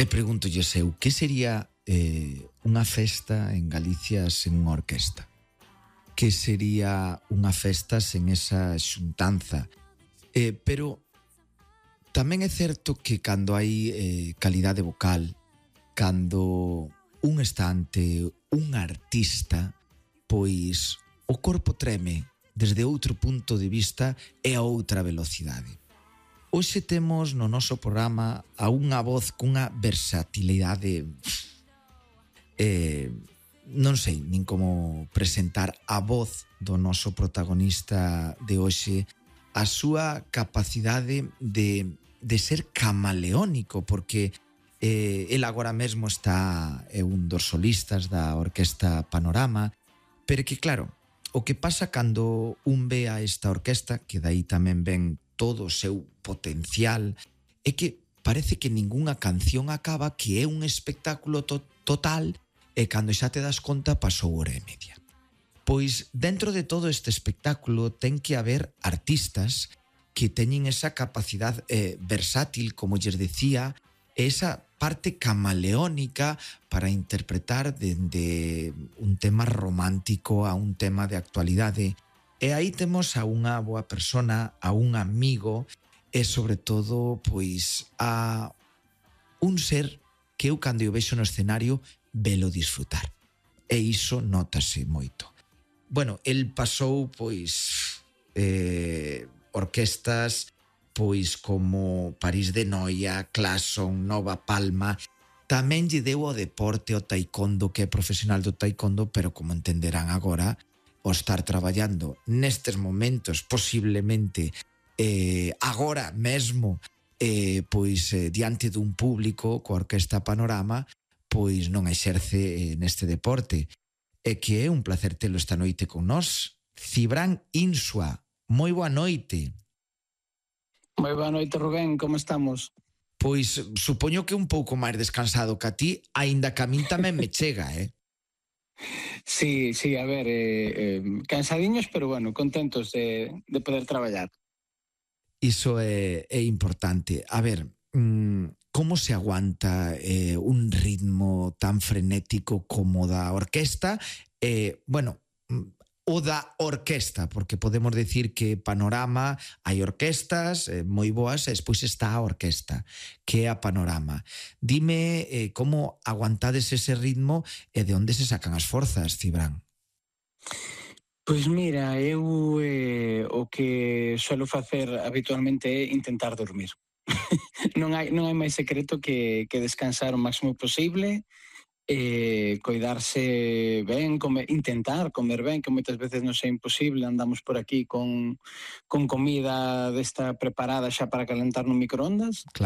E pregúntolle eu, que sería unha festa en Galicia sen unha orquesta? Que sería unha festa sen esa xuntanza? Pero tamén é certo que cando hai calidade vocal, cando un está ante un artista, pois o corpo treme desde outro punto de vista e a outra velocidade. Hoxe temos no noso programa a unha voz cunha versatilidade non sei nin como presentar a voz do noso protagonista de hoxe, a súa capacidade de ser camaleónico, porque el agora mesmo está un dos solistas da Orquesta Panorama, pero que claro, o que pasa cando un ve a esta orquesta, que dai tamén ven todo o seu potencial, é que parece que ningunha canción acaba, que é un espectáculo total, e cando xa te das conta pasou hora e media. Pois dentro de todo este espectáculo ten que haber artistas que teñen esa capacidade versátil, como lles decía, esa parte camaleónica para interpretar dende un tema romántico a un tema de actualidade. E aí temos a unha boa persona, a un amigo e sobre todo pois a un ser que eu cando o vexo no escenario velo disfrutar. E iso notase moito. Bueno, el pasou pois orquestas pois como París de Noia, Claxon, Nova Palma. Tamén lle deu ao deporte, ao taekwondo, que é profesional do taekwondo, pero como entenderán agora, o estar traballando nestes momentos, posiblemente agora mesmo, pois diante dun público coa Orquesta Panorama, pois non exerce neste deporte. E que é un placer telo esta noite con nós. Cibrán Insua, moi boa noite. Moi boa noite, Rubén, como estamos? Pois supoño que un pouco máis descansado que a ti, aínda que a min tamén me chega, Sí, a ver, cansadiños, pero bueno, contentos de poder traballar. Iso é importante. A ver, como se aguanta un ritmo tan frenético como da orquesta? Bueno, o da orquesta, porque podemos decir que Panorama hai orquestas moi boas e despois está a orquesta, que é a Panorama. Dime como aguantades ese ritmo e de onde se sacan as forzas, Cibrán? Pois mira, eu o que suelo facer habitualmente é intentar dormir. Non hai máis secreto que descansar o máximo posible, coidarse ben, intentar comer ben, que moitas veces non é imposible, andamos por aquí con comida desta preparada xa para calentar no microondas. Claro.